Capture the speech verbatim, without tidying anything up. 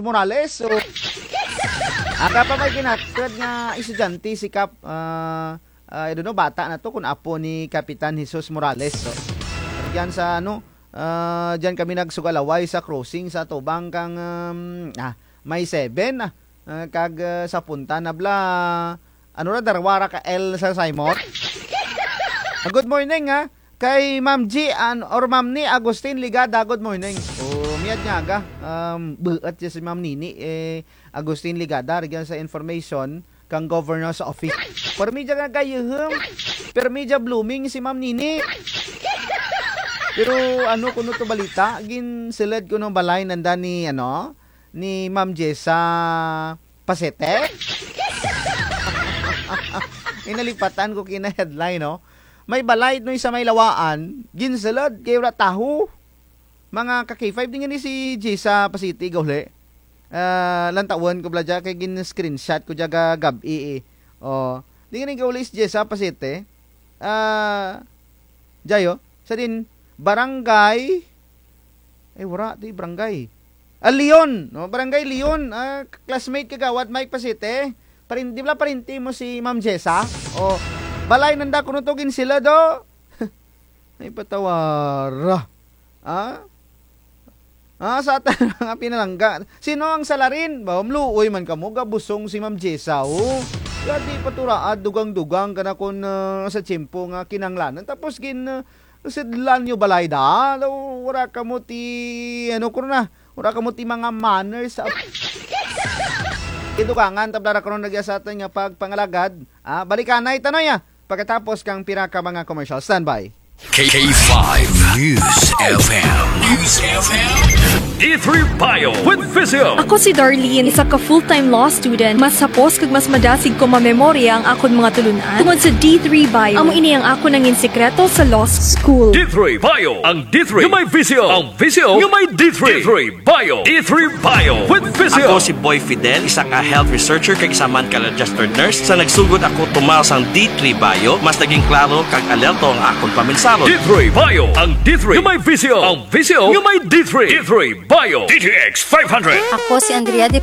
Morales. So, aga pa may ginatud nga estudyante si Kap, ah, ah, I don't know, bata na to, kun apo ni Kapitan Jesus Morales. So, dyan sa, ano, ah, dyan kami nagsugalaway sa crossing sa tubang kang, um, ah, may seven, ah, ah, kag, ah, sa punta na bala, ano ra, darwa ra ka L sa saymot. Ah, good morning, ha. Kay Ma'am G an-, or Ma'am Ni Agustin Ligada, good morning. O, mayad nga aga. Um, buot dya si Ma'am Nini, eh, Agustin Ligada, rugyan sa information kang governor's office. Pirmi dya nga gayuhum, pirmi dya blooming si Ma'am Nini. Pero ano kuno to balita, ginsulud kuno balay nanda ni, ano, ni Ma'am Jessa Pasete? Ay, nalipatan ko kina headline, no? May balay no sa may Lawaan, ginsulud kay wara tawo. Mga ka K five, di ngani si Jessa Pasete gauli. Ah, lantawun ko bala dya kay gin-screenshot ko dya gagab-i, eh. O, di ngani gauli si Jessa Pasete. Ah, dya yo. Sa din, barangay, ay, wara, ti barangay. Ah, Leon, no? Barangay Leon, ah, classmate kagawad Mike Pasete. Parin-, di bala parinti mo si Ma'am Jessa? O, balay nanda kuno to ginsulud, o. Ay, patawara. Ah? Ah, sa atan nga pinalangga. Sino ang salarin? Ba, maluoy man kamo, gabusong si Ma'am Jessa, o. Kaya di pa to raad, dugang-dugang kana kun, ah, sa tiyempo nga kinahanglanan. Tapos gin, ah, sudlan nyo balay da. Daw, wara kamo ti, ano, kuno na. Wara kamo ti mga manners. Idugangan, tablara kuno nagya sa atan nga pagpangalagad. Ah, balikanay tano ya. Pagkatapos kang pira ka mga commercial. Standby. K five News F M. News F M. D three Bio with Visio. Ako si Darlene, isa ka full-time law student. Mas hapos kag mas madasig ko mamemorya ang akon mga tulun-an tungod sa D three Bio. Amo ini ang akon nangin sikreto sa law school. D three Bio, ang D three nga may visyo, ang visyo nga may D three. D three Bio. D three Bio with Visio. Ako si Boy Fidel, isa ka health researcher kag isa man ka registered nurse. Sa nagsugod ako tumaw sang D three Bio, mas naging klaro kag alerto ang akon paminsaro. D three Bio, ang D three nga may visyo, ang visyo nga may D three. D three Bio, D T X five hundred. Ako si Andrea de